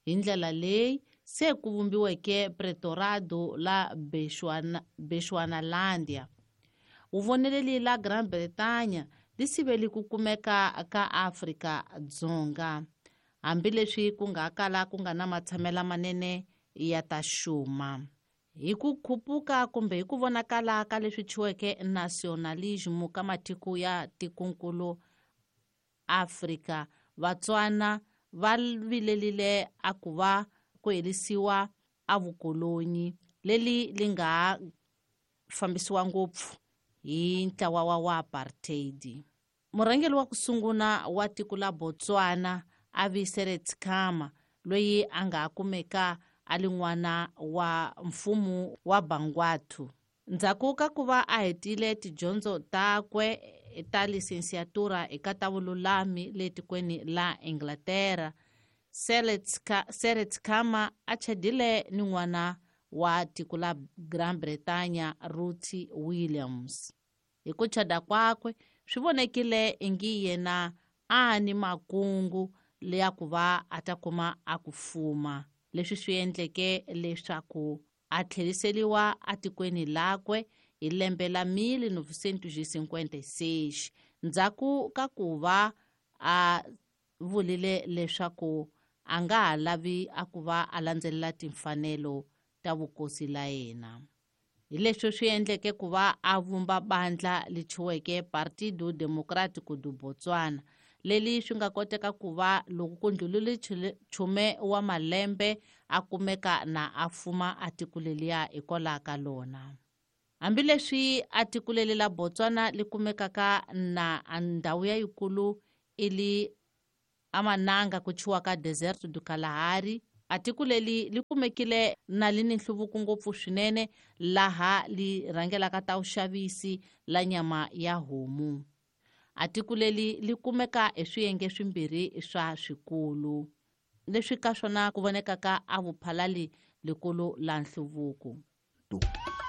Hi ndlela leyi se ku vumbiweke Pretorado la Bechuanalandia. Vuvoneleli la Gran Bretaña li siveli ku kumeka ka Afrika Dzonga, hambileswi ku nga kala ku nga na matshamela manene ya ta xuma. Hi ku khupuka kumbe hi ku vonakala ka leswi thyiweke nationalism ka matiko ya tikonkulu Afrika, Vatswana va vilelile a ku va ku herisiwa a vukolonyi leli li nga fambisiwa ngopfu hi ntlawa wa apartheid. Murhangeri wa ku sungula wa tiko la Botswana a vi Seretse Khama, loyi a nga kumeka a li n'wana wa mfumo wa Bangwathu. Ndzhaku ka ku va a hetile tidyondzo takwe ta lisensiatura eka ta vululami le tikweni la Inglaterra, Seretse Khama a chadile ni n'wana wa tiko la Gran Bretaña Ruth Williams. Hi ku chada kwakwe swi vonekile ingi yena a ni makungu leya ku va a ta kuma a ku fuma, leswi swi endleke leswaku a tlheriseriwa atikweni lakwe hi lembe la 1956 ndzhaku ka ku va a vulile leswaku a nga ha lavi a ku va a landzelela timfanelo ta vukosi la yena. Hi leswi swi endleke ku va a vumba bandla li thyiweke Partido Democrático do Botswana, leli swi nga koteka ku va loko ku ndlulile chume wa malembe a kumeka na a fuma a tiko leliya hikwalaho ka lona. Hambileswi a tiko leli la Botswana li kumekaka na ndhawu ya yikulu i li amananga ku thyiwa ka Deserto do Kalahari, a tiko leli li kumekile na li ni nhluvuko ngopfu swinene laha li rhangelaka ta vuxavisi la nyama ya homu. A tiko leli li kumeka hi swiyenge swimbirhi swa swikulu, leswi ka swona ku vonekaka a vuphalali likulu la nhluvuko.